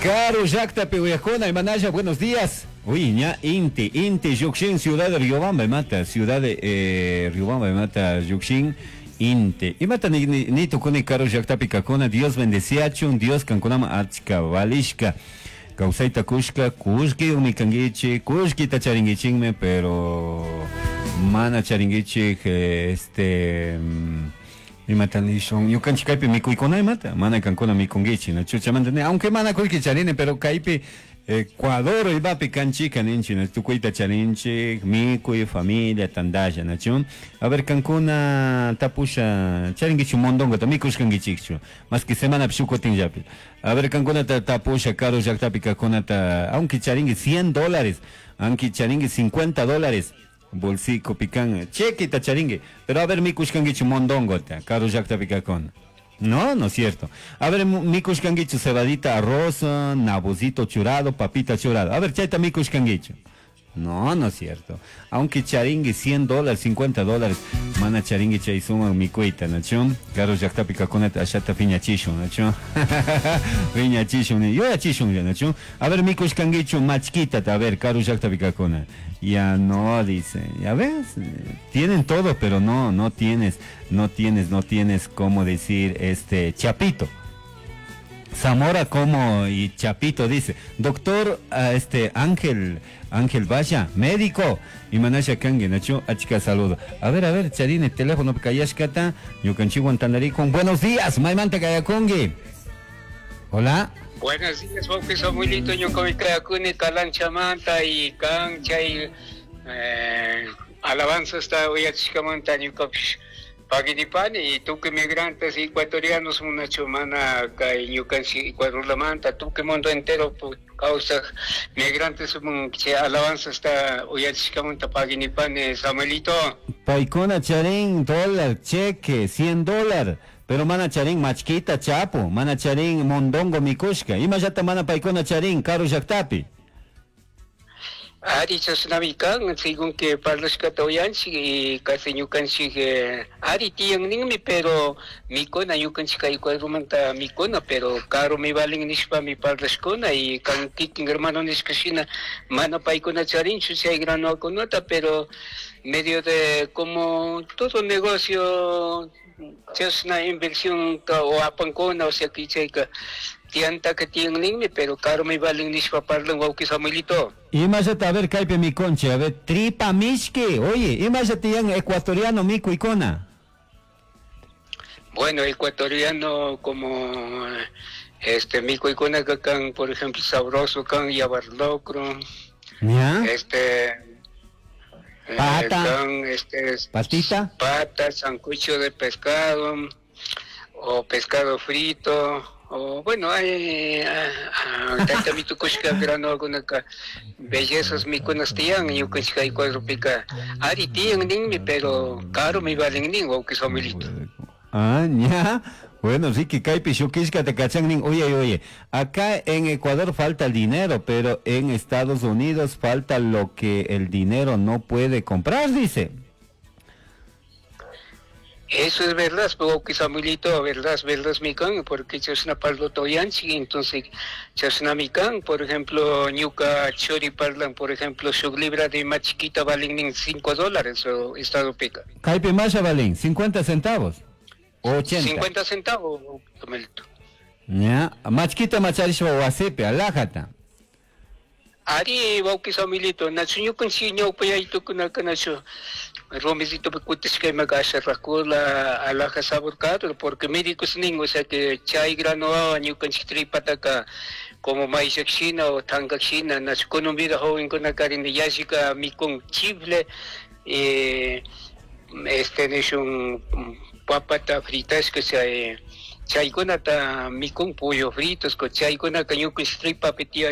Karu llaktapi uyakuna imanalla, buenos días. Uy, ña inti, inti llukshin ciudad de Riobamba imata, ciudad de Riobamba imata llukshin inti. Imata ni, ni, ni tukuni karu llaktapi kakuna, Dios bendeciachun, Dios kankunaman achka valishka. Kawsayta kushka, kullkiyumi kankichik, kullkita charinkichikmi, pero mana charinkichik, este, imata nishun, ñukanchik kaypi mikuykuna imata, mana kankuna mikunkichik, nachu chaymanta ni, aunque mana kullki charini, pero kaypi Ecuador imapi kanchika ninchik, na tukuyta charinchik, mikuy, familia, tantalla, nachu. A ver, kankuna tapusha, charinkichu mondongota, mikushkankichikchu, más que semanapi shuk kutinllapi. A ver, kankunata tapusha, karu llaktapi kajkunata, aunque charinki 100 dólares, aunque charinki 50 dólares, bolsillopi kan, chequeta charinki, pero a ver, mikushkankichu mondongota, karu llaktapi kajkuna. No, no es cierto. A ver, mikushkankichu cebadita, arroz, nabocito churado, papita churado. A ver, chayta mikushkankichu. No, no es cierto. Aunque charingui 100 dólares, 50 dólares, mana charingui chay suman mikuyta, nachu? Karu llaktapi kajkunata ashata piñachishun, nachu? Piñachishun, yuyachishun, nachu? A ver, mikushkankichu machkitata, a ver, karu llaktapi kajkuna. Ya no, dice. Ya ves, tienen todo, pero no, no tienes, no tienes, no tienes cómo decir, este, Chapito. Zamora como y Chapito dice, doctor, este, Ángel, Ángel Vaya, médico, y manasha kangi, nachu, achka saludo. A ver, a ver, charine, teléfono kayashkata, ñukanchikwan tandarikun. Buenos días, maymanta kayakungi. Hola. Buenos días, wawqi Samuelito, ñuqami kayakuni Calanchamanta y kan chay alabanzasta uyachishkamanta ñuqapish paginipani y tukuy migrantes ecuatorianos munachu mana kay ñukanchik Ecuadorlamanta tukuy mundo entero kawsaj migrantes mun chay alabanzasta uyachishkamanta paginipani, Samuelito. Paykuna charin dólar, cheque, 100 dólar. Pero mana charin machkita chapu, mana charin mondongo mikushka. Imallata mana paykuna charin karu llaktapi. Ari chashnami kan, según que parlashkata uyanchik y casi ñukanchik ari tiyan ninmi, pero mikuna ñukanchik kay Ecuadormanta mikuna, pero karu mi valin nishpami parlashkuna y kan kikin hermano nishka shina mana paykuna charinchu chay granokunata, pero medio de como todo negocio chashna inversión ka o apankuna, o sea que chayka tianta que tiyan ninmi, pero karu mi valin nishpa parlan wawqi Samuelito. Imallata, a ver, kaypi mi conche, a ver, tripa mishki, oye, imallata tiyan ecuatoriano mikuykuna. Bueno, ecuatoriano como este mikuykuna ka kan, por ejemplo, sabroso kan, yavar locro. ¿Ya? Este, Pata. kan, este, Patita. Pata, sancocho de pescado o pescado frito. O bueno, hay, tayta mitukushka grano alguna ka bellezas mikunas tiyan, ñukanchik Ecuadorpika ari tiyan ninmi, pero caro mi valen nin, wawqi Samuelito. Ah, ya. Bueno, Ricky, kaypi shukishka te cachan nin. Oye, oye, acá en Ecuador falta el dinero, pero en Estados Unidos falta lo que el dinero no puede comprar, dice. Eso es verdad, wawqi Samuelito, verdad, verdad, mi can, porque chashna parlo toyanchi, entonces chashna mi can, por ejemplo, ñuka chori parlan, por ejemplo, su libra de más chiquita valen en cinco dólares o estado pica. Kaypi masha valen, 50 centavos, o 80. 50 centavos, Samuelito. Ya, machquita macharishwa wasipi, alajata. Ari, wawqi Samuelito, nachu ñukanchik ñawpayaytukunaka nachu rumicito kutishka imaka asha rakula alaja sabor caro, porque médicos nin, o sea que chay grano ñukanchik tripataka como maíz shina o tanga shina, nachu kunun vida joven kunaka rin yashika mikun chifle, este nishun papata fritashka chay chaykunata mikun pollo fritos, chaykunaka ñukanchik tripapi tiyan.